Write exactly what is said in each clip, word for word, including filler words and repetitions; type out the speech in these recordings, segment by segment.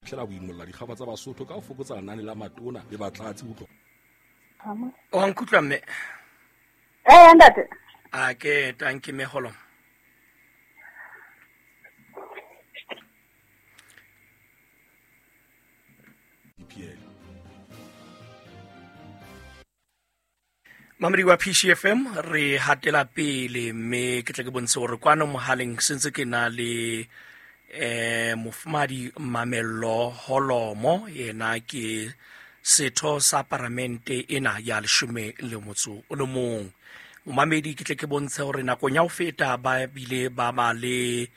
Fihlela ho imolla dikgaba tsa Basotho ka ho fokotsa lenane la matona le batlatsi ho tloha. O nkutlwa mme? Eh ntate. A ke tanki me holo. Mamedi wa P C F M re hatela pele mme ke tle ke bontshe hore kwano mohaleng sentse ke na le eh mofumadi Mamello Holomo, yena ke setho sa paramente ena ya leshome le motso o le mong. Momamedi ke tle ke bontshe hore nakong ya ho feta ba bile ba ba le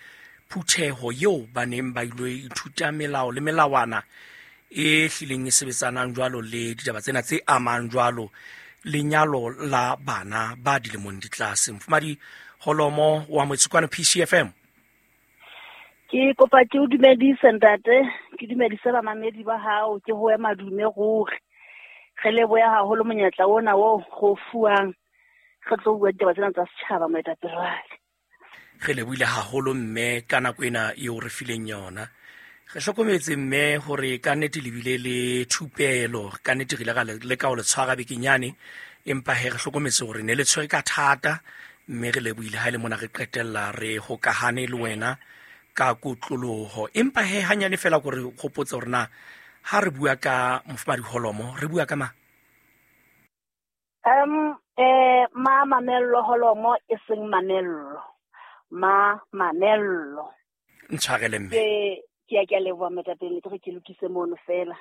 phutheho eo ba neng ba ilo ithuta melao le melawana e hlileng e sebetsanang jwalo le ditaba tsena tse amang jwalo lenyalo la bana ba dilemong di tlase. Mofumadi Holomo wa Motsekwana P C F M. Ke kopa ke o dumedise ntate, ke dumedise bamamedi ba hao, ke ho ema dume ruri. Re leboha haholo monyetla ona o go fuwang re tlo bua ditaba tsena tsa setjhaba moetapele wa ka. Re lebohile haholo mme ka nako ena eo re fileng yona. Re hlokometse mme hore ka nnete le bile le thupelo, ka nnete re ile ra leka ho le tshwara bekenyane, empa he re hlokometse hore ne le tshwere ka thata, mme re lebohile ha e le mona re qetella re hokahane le wena ka kotloloho. Empa he hanyane fela hore hopotse hore na ha re bua ka mofumadi Holomo re bua ka mang? Um eh ma Mamello Holomo e seng Mamello. Ma Mamello. Ntshwarele mme. Ke ke ya ke a leboha moetapele, ke re ke lokise mono fela.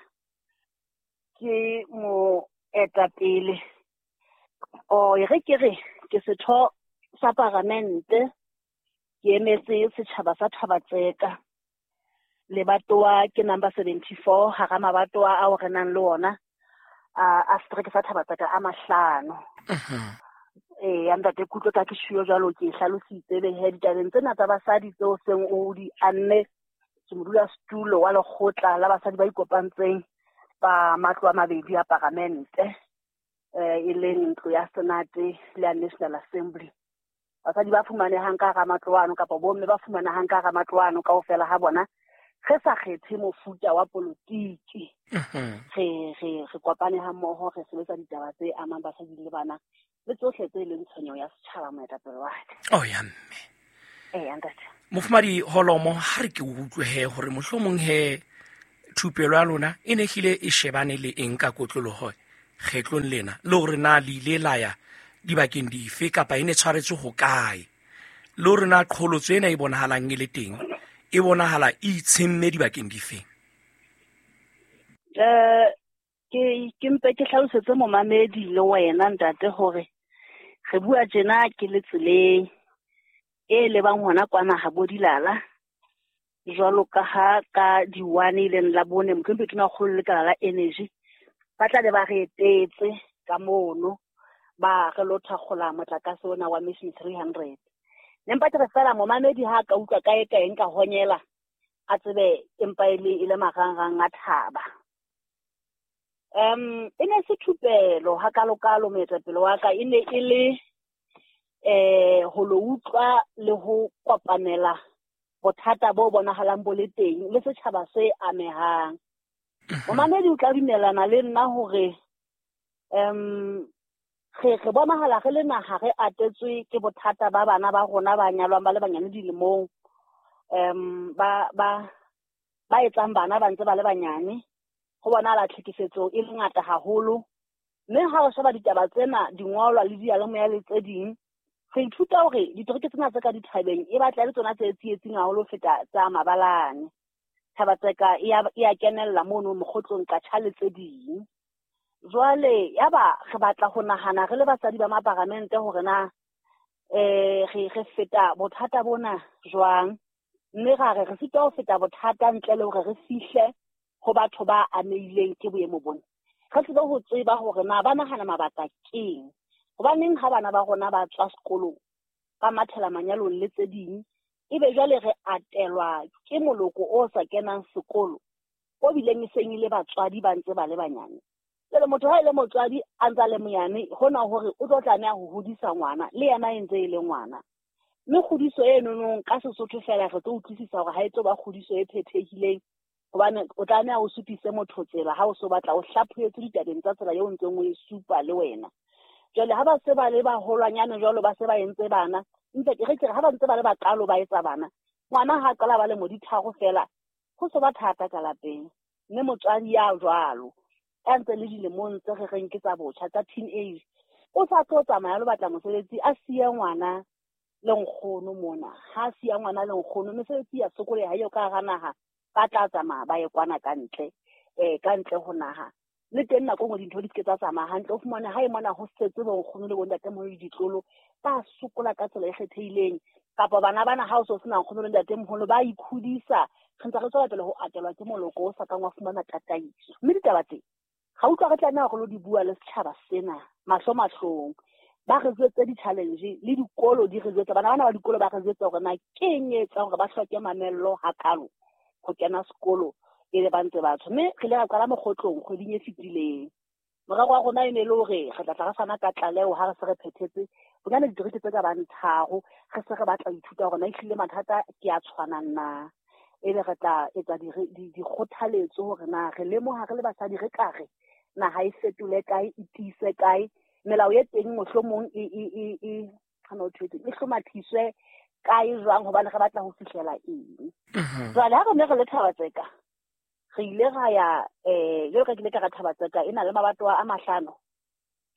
Ke moetapele. O e re ke re ke setho sa paramente, ke emetse setjhaba sa Thaba-Tseka. Lebatowa ke number seventy-four hara mabatowa ao re nang le ona a a setereke sa Thaba-Tseka a mahlano. Eh ntate Kutlo ka ke shuo jwalo ke hlalositse be he ditabeng tsena tsa basadi tseo seng o di anne ke modula setulo wa lekgotla la basadi ba ikopantseng ba matlo a mabedi a paramente eh e leng ntlo ya Senate le ya National Assembly. Basadi ba fumanehang ka hara matlo ano kapa bomme ba fumanehang ka hara matlo ano kaofela ha bona re sa kgethe mofuta wa politiki. Re re re kopane ha mmoho re sebetsa ditaba tse amang basadi le bana le tsohle tse leng tshwenyeho ya setjhaba moetapele wa ka. Oh ya mme. Eh ntate. Mofumadi Holomo, ha re ke utlwe he hore mohlomong he thupelo ya lona e ne hlile e shebane le eng ka kotloloho kgetlong lena, le hore na le ile la ya dibakeng dife kapa e ne tshwaretswe ho kae, le hore na qholotso ena e bonahalang e le teng e bonahala e itshemme dibakeng dife? Eh ke ke mpe ke hlalosetse momamedi le wena ntate hore re bua tjena ke le tseleng e lebang hona kwana ha bo dilala jwalo ka ha ka di one e leng la bone mohlomphedi tona kgolo le lekala la energy ba tla be ba re etetse ka mono ba re lo thakgola motlakase ona wa Mission three hundred. Ne mpa ke re fela momamedi ha ka utlwa kae kae nka honyela a tsebe empa e le e le marangrang a thaba. Um e ne se thupelo ha kalokalo moetapele wa ka, e ne e le eh ho lo utlwa le ho kopanela bothata bo bonahalang bo le teng le setjhaba se amehang. Momamedi o tla dumelana le nna hore um re re bonahala re le naha re atetswe ke bothata ba bana ba rona ba nyalwang ba le banyane dilemong, um ba ba ba etsang bana ba ntse ba le banyane. Ho bonahala tlhekefetso e le ngata haholo, mme ha o sheba ditaba tsena dingolwa le diyalemoya le tse ding, re ithuta hore ditereke tsena tse ka dithabeng e batla le tsona tse tsietsing haholo ho feta tsa mabalane. Thaba-Tseka e a e a kenella mono mokgotlong Katjha le tse ding. Jwale yaba re batla ho nahana re le basadi ba maparamente hore na eh re re feta bothata bona jwang, mme ra re re sitwa ho feta bothata ntle le hore re fihle ho batho ba amehileng ke boemo bona. Re tsebe ho tseba hore na ba nahana mabaka keng, hobaneng ha bana ba rona ba tswa sekolong ba mathela manyalong le tse ding, ebe jwale re atelwa ke moloko o sa kenang sekolo o bileng e seng e le batswadi ba ntse ba le banyane. Jwale motho ha e le motswadi a ntse a le monyane, hona hore o tlo tlameha ho hodisa ngwana le yena e ntse e le ngwana. Mme kgodiso e nonong ka Sesotho fela re tlo utlwisisa hore ha e tlo ba kgodiso e phethehileng Hobane o tlameha o supise motho tsela ha o so batla o hlaphohetswe ditabeng tsa tsela eo o ntseng o e supa le wena. Jwale ha ba se ba le baholwanyane jwalo ba se ba entse bana, ntse ke re ke re ha ba ntse ba le bakalo ba etsa bana, ngwana ha qala ba le mo ditharo fela, ho so ba thata ka lapeng. Mme motswadi ya jwalo, a ntse le dilemong tse re reng ke tsa botjha tsa teenage, o sa tlo tsamaya lo batla mosebetsi a siye ngwana le nkgono mona. Ha a siya ngwana le nkgono, mesebetsi ya sokoleha eo ka hara naha, ba tla tsamaya ba ye kwana ka ntle, eh ka ntle ho naha. Le teng nako nngwe dintho di se ke tsa tsamaya hantle, o fumane ha e mona ho setse bo nkgono le bontatemoholo le ditlolo, ba sokola ka tsela e kgethehileng. Kapa bana bana ha o so sena nkgono le ntatemoholo ba ikhudisa, re ntse re tswela pele ho atelwa ke moloko o sa kang wa fumana tataiso. Mme ditaba tse ga utlwa re tlameha hore lo di bua le setjhaba sena mahlo mahlong. Ba re jwetse di-challenge le dikolo di re jwetsa, bana bana ba dikolo ba re jwetsa hore na ke eng e etsang hore ba hloke mamello hakalo ho kena sekolo e le ba ntse batho. Mme re ile ra qala mokgotlong kgweding e fetileng. Morero wa rona e ne le hore re tla tla re fana ka tlaleho ha re se re phethetse bonyane ditereke tse ka bang tharo, re se re batla ho ithuta hore na ehlile mathata ke a tshwanang na. Ebe re tla etsa dikgothaletso hore na re lemoha re le basadi re ka re naha e fetole kae, e tiise kae, melao e teng mohlomong e e e e hana ho thwetse e hlomathiswe kae jwang, hobane re batla ho fihlela eng. Jwale ha re ne re le Thaba-Tseka, re ile ra ya eh jwalo ka ke ile ka ra Thaba-Tseka e na le mabatowa a mahlano.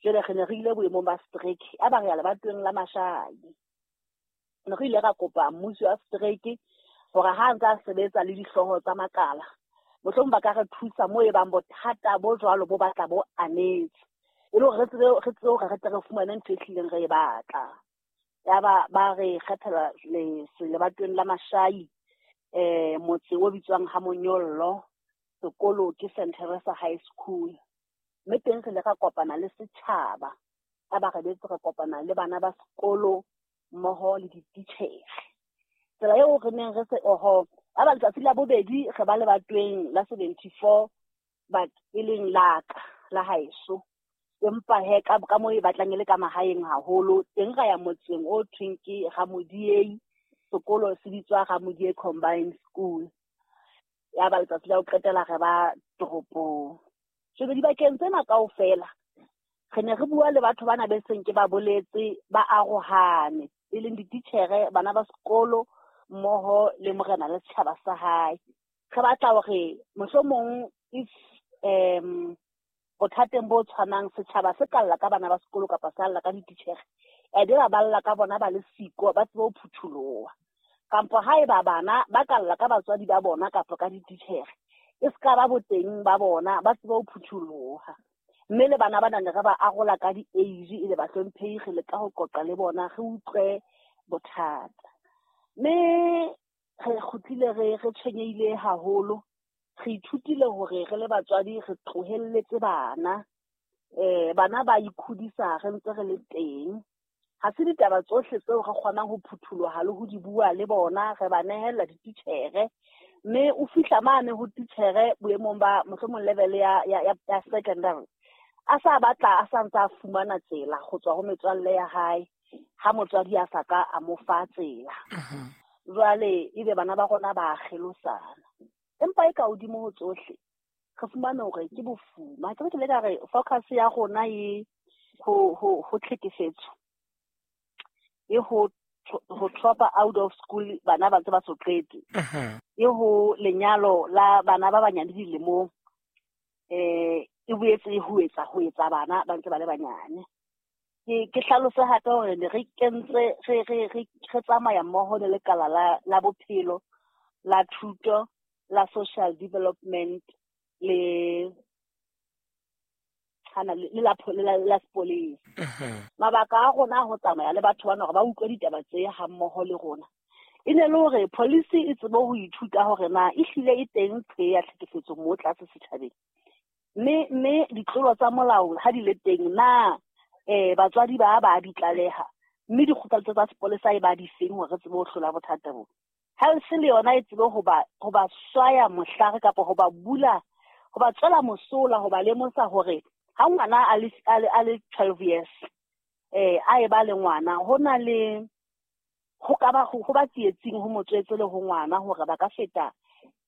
Jwale re ne re ile boemong ba strike, a ba re ya lebatoweng la Mashai. Ne re ile ra kopa mmusi wa strike hore ha ntse a sebetsa le dihlooho tsa makala, mohlomong ba ka re thusa moo e bang bothata bo jwalo bo batla bo anetse, e le hore re tsebe re tsebe hore re tle re fumane ntho e hlileng re e batla. Yaba ba re kgethela lebatoweng la Mashai, eh motse o bitswang ha Monyollo, sekolo ke Saint Teresa High School. Mme teng re ile ra kopana le setjhaba, a ba re betse re kopana le bana ba sekolo mmoho le dititjhere. Tsela eo re neng re se oho, a ba letsatsi la bobedi re ba lebatoweng la seventy-four, but e leng la ka la haeso. Empa he ka ka moo e batlang e le ka mahaeng haholo, teng ra ya motseng o thweng ke Ramodiei, sekolo se bitswa Ramodiei Combined School. Ya ba letsatsi la ho qetela re ba toropong. Jwale dibakeng tsena kaofela re ne re bua le batho bana be seng ke ba boletse ba arohane, e leng dititjhere, bana ba sekolo mmoho le morena le setjhaba sa hae. Re batla hore mohlomong if um bothateng bo tshwanang setjhaba se ka lla ka bana ba sekolo kapa sa lla ka dititjhere, ebe ba balla ka bona ba le siko, ba tsebe ho phutholoha. Kampo haeba bana ba ka lla ka batswadi ba bona kapa ka dititjhere, e se ka ba boteng ba bona, ba tsebe ho phutholoha. Mme le bana bana ne re ba arola ka di-age, e le bahlomphehi, re leka ho qoqa le bona, re utlwe bothata. Mme re kgutlile re re tshwenyehile haholo. Re ithutile hore re le batswadi re tlohelletse bana, eh bana ba ikhudisa re ntse re le teng. Ha se ditaba tsohle tseo re kgonang ho phutholoha le ho di bua le bona, re ba nehella dititjhere. Mme o fihla mane ho titjhere boemong ba mohlomong level ya ya ya secondary, a sa batla a sa ntse a fumana tsela ho tswa ho metswalle ya hae, ha motswadi a sa ka a mo fa tsela. Jwale ebe bana ba rona ba kgelosana. Empa e ka hodimo ho tsohle, re fumane hore ke bofuma. Ke ke le ka re focus ya rona e ho ho ho tlhekefetso, e ho ho drop out of school bana ba ntse ba so qete, e ho lenyalo la bana ba banyane dilemong, eh e boetse e ho etsa ho etsa bana ba ntse ba le banyane. Ke ke hlalose hape hore ne re kentse re re re re tsamaya mmoho le lekala la la bophelo, la thuto, la social development le hana le la le la sepolesa. Mabaka a rona ho tsamaya le batho bana hore ba utlwe ditaba tse ha mmoho le rona, e ne le hore policy e tsebe ho ithuta hore na ehlile e teng tse ya tlhekefetso mo tlase setjhabeng, mme mme ditlolo tsa molao ha di le teng na eh batswadi ba ba di tlaleha, mme dikgothaletso tsa sepolesa e ba di feng hore re tsebe ho hlola bothata bo. Health le yona e tsebe ho ba ho ba swaya mohlare kapa ho ba bula, ho ba tswela mosola, ho ba lemosa hore ha ngwana a le a le twelve years eh a e ba le ngwana, ho na le ho ka ba ho ba tsietsing ho motswetse le ho ngwana hore ba ka feta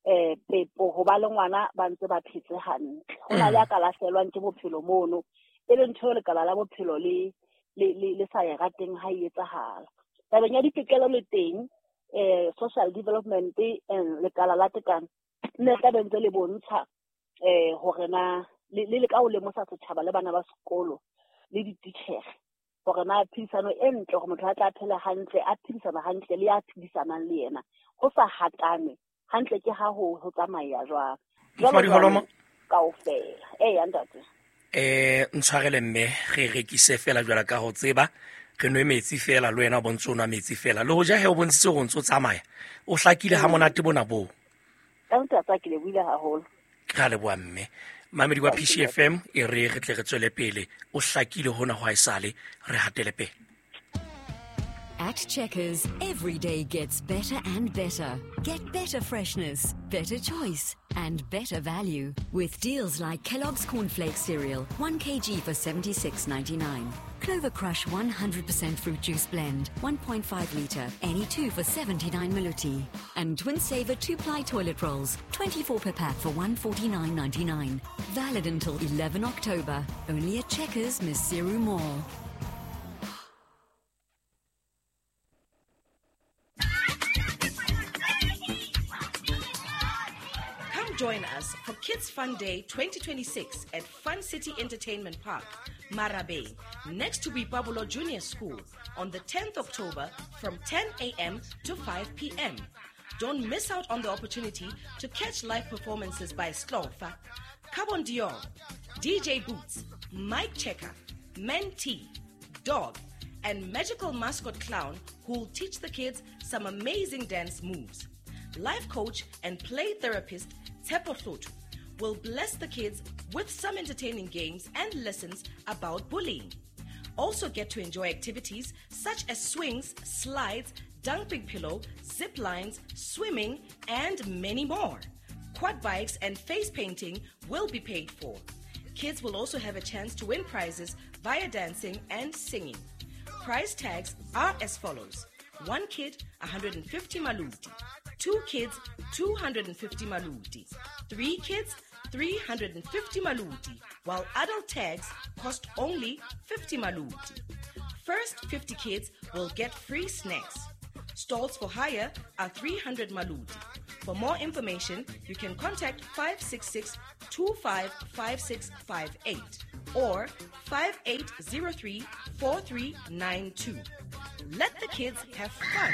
eh pepo ho ba le ngwana ba ntse ba phetse hantle. Ho na le a ka lahlelwang ke bophelo mono, e leng ntho eo lekala la bophelo le le le sa e rateng ha e etsahala. Tabeng ya ditokelo le teng, eh social development and lekala la tekano nne tla be ntse le bontsha eh hore na le le ka o lemosa setjhaba le bana ba sekolo le dititjhere hore na phedisano e ntle hore motho a tla phela hantle, a phedisana hantle le ya phedisanang le yena, ho sa hatane hantle ke ha ho ho tsamaya jwang. Mofumahadi Holoma kaofela. Eh ntate. Eh ntshwarele mme re rekise fela jwala ka ho tseba, re nwe metsi fela le wena o bontse o nwa metsi fela, le hoja he o bontshitse hore o ntso tsamaya o hlakile ha monate bona bo. Ka ntate ke le buile haholo. Ke a leboha mme. Mamedi wa P C F M e re re tle re tswele pele, o hlakile hona ho haesale, re hatele pele. At Checkers, every day gets better and better. Get better freshness, better choice, and better value. With deals like Kellogg's Cornflakes cereal, one kilogram for seventy-six ninety-nine. Clover Crush one hundred percent fruit juice blend, one point five litre, any two for seventy-nine maluti. And Twin Saver two-ply toilet rolls, twenty-four per pack for one forty-nine ninety-nine. Valid until eleven October. Only at Checkers, Maseru Mall. Join us for Kids Fun Day twenty twenty-six at Fun City Entertainment Park, Marabe, next to Boipabolo Junior School on the tenth of October from ten a.m. to five p.m. Don't miss out on the opportunity to catch live performances by Slofa, Carbon Dior, D J Boots, Mike Checker, Mentee, Dog, and magical mascot clown who'll teach the kids some amazing dance moves. Life coach and play therapist Tshepo Hlotu will bless the kids with some entertaining games and lessons about bullying. Also get to enjoy activities such as swings, slides, dumping pillow, zip lines, swimming, and many more. Quad bikes and face painting will be paid for. Kids will also have a chance to win prizes via dancing and singing. Prize tags are as follows. One kid, one hundred fifty maluti. Two kids, two hundred fifty maluti. Three kids, three hundred fifty maluti, while adult tags cost only fifty maluti. First fifty kids will get free snacks. Stalls for hire are three hundred maluti. For more information, you can contact five six six, two five five six five eight or five eight zero three, four three nine two. Let the kids have fun.